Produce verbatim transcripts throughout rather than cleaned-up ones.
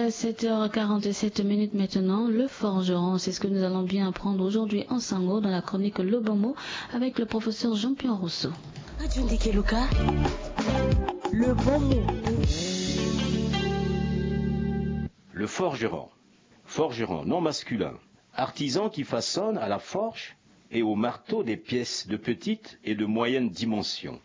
Sept heures quarante-sept minutes maintenant, le forgeron, c'est ce que nous allons bien apprendre aujourd'hui en Sango dans la chronique Le Bon Mot avec le professeur Jean-Pierre Rousseau. Le Bon Mot. Le forgeron. Forgeron, nom masculin. Artisan qui façonne à la forge et au marteau des pièces de petite et de moyenne dimension.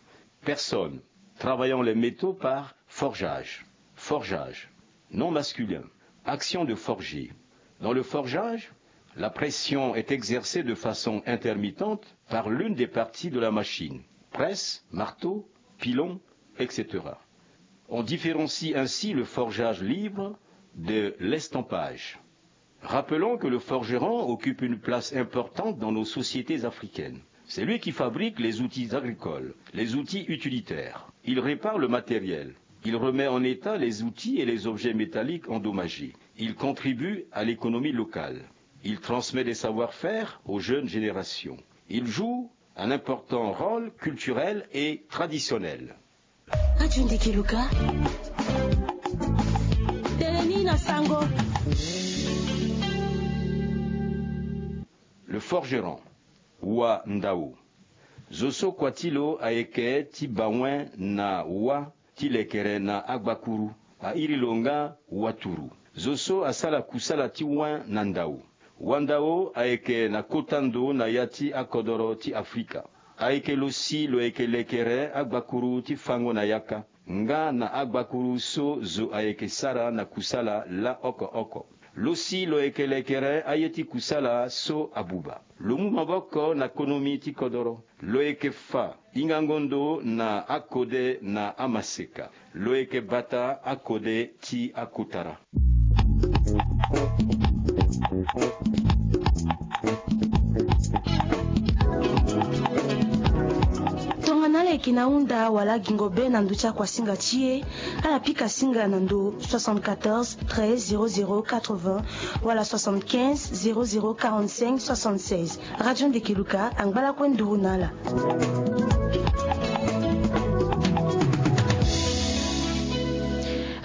Personne travaillant les métaux par forgeage. Forgeage. Nom masculin. Action de forger. Dans le forgeage, la pression est exercée de façon intermittente par l'une des parties de la machine. Presse, marteau, pilon, et cetera. On différencie ainsi le forgeage libre de l'estampage. Rappelons que le forgeron occupe une place importante dans nos sociétés africaines. C'est lui qui fabrique les outils agricoles, les outils utilitaires. Il répare le matériel. Il remet en état les outils et les objets métalliques endommagés. Il contribue à l'économie locale. Il transmet des savoir-faire aux jeunes générations. Il joue un important rôle culturel et traditionnel. Radio Ndeke Luka. Teleni na sango. Le forgeron. Wa ndao. Zo so kua ti lo ayeke ti bawen na wa ti lekere na agbakuru, a iri lo nga waturu. Zo so asala kusala ti wen na ndao. Wa ndao ayeke na kota ndo na ya ti akodoro ti Afrika. Ayeke lo si lo yeke lekere agbakuru ti fango na yaka nga na agbakuru so zo ayeke sara na kusala la oko oko. Lo si lo yeke lekere aye ti kusala so abuba. Lo mu maboko na konomi ti kodoro. Lo yeke fa hingango ndo na akode na amaseka. Lo yeke bata akode ti akota ra. Tongana ala yeke na hunda wala gingo be na ndö ti akuasinga ti e, ala pika singa na ndö soixante-quatorze treize zéro zéro quatre-vingts wala soixante-quinze zéro zéro quarante-cinq soixante-seize. Radio Ndeke Luka angba lakue nduru na ala.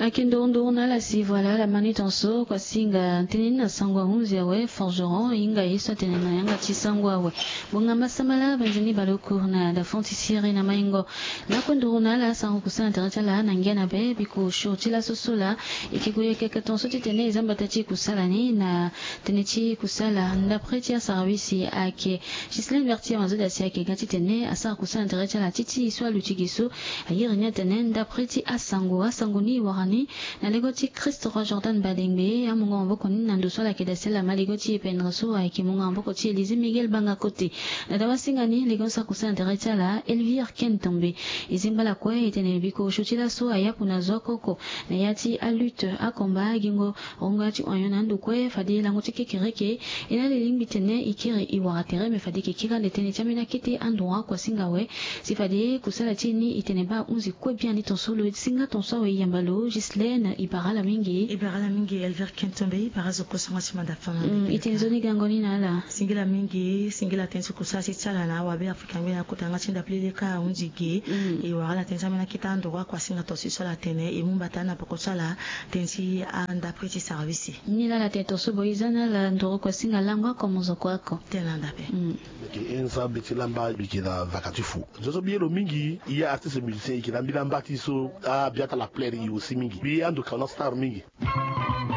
Ayeke nduru nduru na ala si voilà ala ma ni tonso kuasinga tënë ni na sango ahunzi awe, forgeron, e hinga ye so atene na yanga ti sango awe. Bongama sambala, benzeni baleoku na dafon ti siri na maingo. Lakue nduru na ala sango kusala na tere ti ala na ngia na be, biko sio ti laso so laa e yeke gue yeke tonso titene e za mbata ti kusala ni na tënë ti kusala. Ndapre ti asarabisi ayeke Ghislaine Bertier Mazoda si ayeke ga titene asara kusala na tere ti ala ti ti e so aluti gi so. A iri ni atene ndapre ti asango, asango ni e wara ni na lego ti Christ Roi Jordan Badengbe, amungo maboko ni na ndo so ala yeke daa si ala ma lego ti e pendere so ayeke mungo maboko ti Élysée Miguel Banga Kote. Na dawasinga ni lego so akusala na tere ti ala Elvire Kentombe. E zingba lakue e tene biko sio ti laso ayapu na zo oko oko na ya ti alutte, akomba, agingo, rongo ya ti oignon na ando kue fade lango ti kekereke. E na ala e lingbi tene e kiri e wara tere me fade e yeke kiri ande tënë ti ambeni akete androit kuasinga awe. Si fade kusala ti e ni e tene baa ahunzi kue biani tonso lo singa tonso awe e yamba lo. Ghislaine, e bara ala mingi. E bara ala mingi Elvire Kentombe, e bara zo kue so nga ti manda fana. Mm, e tene nzoni gango ni na ala. Singila mingi, singila tënë ti kusala ti ti ala na awabe Afrika ngbene akota nga ti ndapre leka ahunzi ge. Mm. E wara ala tënë ti ambeni akete androit kuasinga tonso so ala tene e mu mbata na poko ti ala tënë ti andapre ti sarabisi. Ni laa ala tene tonso bo e za na ala nduru kuasinga lango oko mo zo kue oko. Tene na ndape. Mm. Mbi yeke Enza Beti Lamba, mbi yeke na vaka ti fu. Zo so mbi ye lo mingi, e ya artiste musicien, e yeke na mbi na mba ti so, ah, mbi ata la plaire e aussi mingi. Mbi ye ando Kaona Star mingi.